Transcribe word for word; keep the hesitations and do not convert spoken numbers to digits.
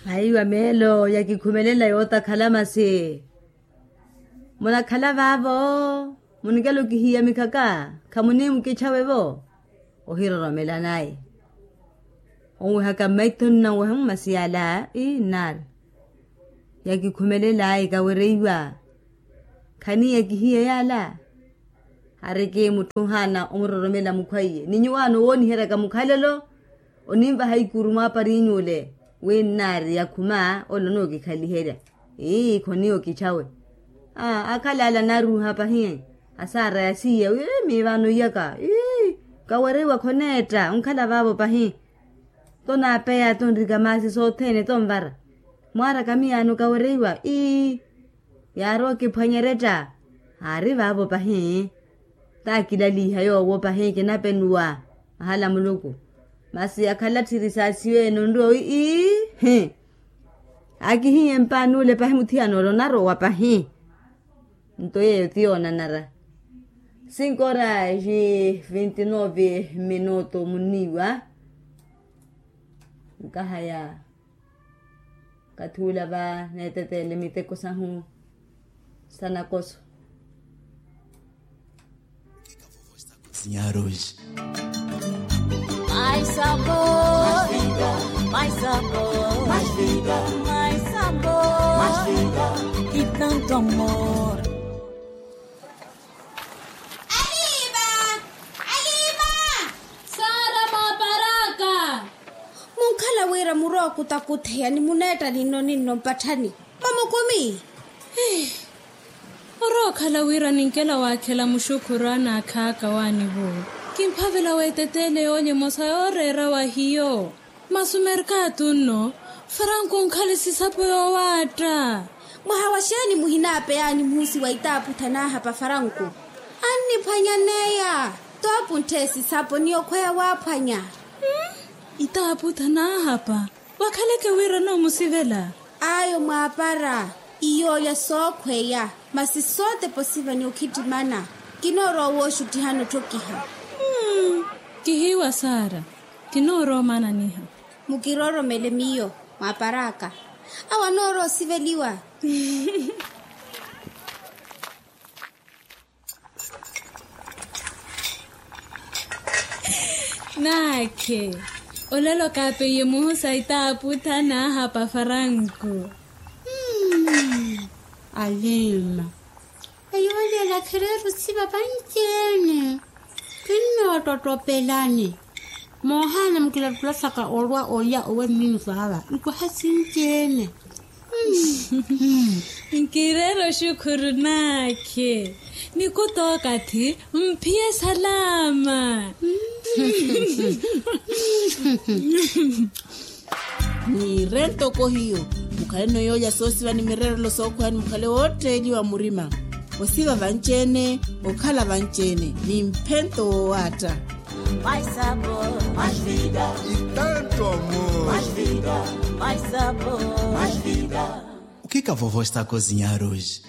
Haiwa meelo yakikhumelela yootakhala masi. Munakhala vaavo, munikela okihiyamikhaka, khamunimukichawe-vo. Ohiroromela naye onwehaka mmaitho nnanweha mmasiyala ii nnaari. Yakikhumelela ikawereiwa. Khaniya kihiye yaala. Ariki mutthu ohaana omuroromela mukhwaiye ni nyuwaano owooniheryaka mukhalelo. Oninvaha ikuru mwaapariny'ule wi nnaari yakhuma ole onookikhaliherya. Ii khoniyo kichawe. Akhala ala naaruuha pahi. Asaara yasiya wi miivaano iyaka ii kawereiwa khoneetta onkhala vaavo pahi. Tonaapeya tonrika maasi sothene tonvara. Mwaaraka miyaano kawereiwa ii yaari okiphwanyeretta. Aari vaavo pahi. Taakilaliha yoowo pahi kinapenuwa. Ahala muluku. Masi akhala tthiri saasiwe enonryo ii hi. Akihiye mpaani ule pahi muthiyana ole onarowa pahi. Nto yeeyo ti yoonanara. Cinco horas vinte nove minuto muniiwa. Nkahaya. Kathi ula va neeteteele miteko sahu sa nakoso. Sinyaruji. Mais sabor, mais sabor, mais vida, mais sabor, mais vida, e tanto amor. Aliva. Aliva. Sara maparaka. Munkhala wira murwa okutakutheya ni muneetta ninno ninno mpatthani. Mamukumi. Orookhala wira ninkela waakhela muxukhuru anaakhaaka waanivo. Kimphavela weeteteele yoolya emosa yooreera wa hiyo. Masi omerkatu nno. Faranku onkhale sisapo yoowaatta. Mwaha wa xeeni muhinaapeyaani muhusi wa itaaputha naahapa faranku? Anniphwanyaneya. Toopunthe sisapo ni okhweya waaphwanya. Itaaputha naahapa. Wakhaleke wira noomusivela. Ayo mwaapara. Iyooya sookhweya. Masi sootepa osiva ni okhittimana. Kinoorowa wooxuttihana otthokiha. Kihiiwa sara. Kinoorowa omananiha. Mukiroromele miyo mwaparaka. Awo anoorowa osiveliwa. Naakhe. Olelo kaapeiye muhusa itaaputha naahapa faranku. Alima. Eyo olela khireeru siva vanci-ene. Kinnoottottopelani. Moohaana mukilattula saka olwa olya owe mmiiso ava nkwaha sinci-ene. Nkireera oxukhuru naakhe. Nikuta okathi mphiye salama. Niire ntoko hiyo. Mukhaleno yoolya soosiva ni mireerelo sookhweya ni mukhale wootteeliwa murima. Osiva vanci-ene. Okhala vanci-ene ni mphento woowaatta. Mai sabor, mai vida. Itanto amor. Mai vida, mai sabor, mai vida. O que que a vovó está a cozinhar hoje?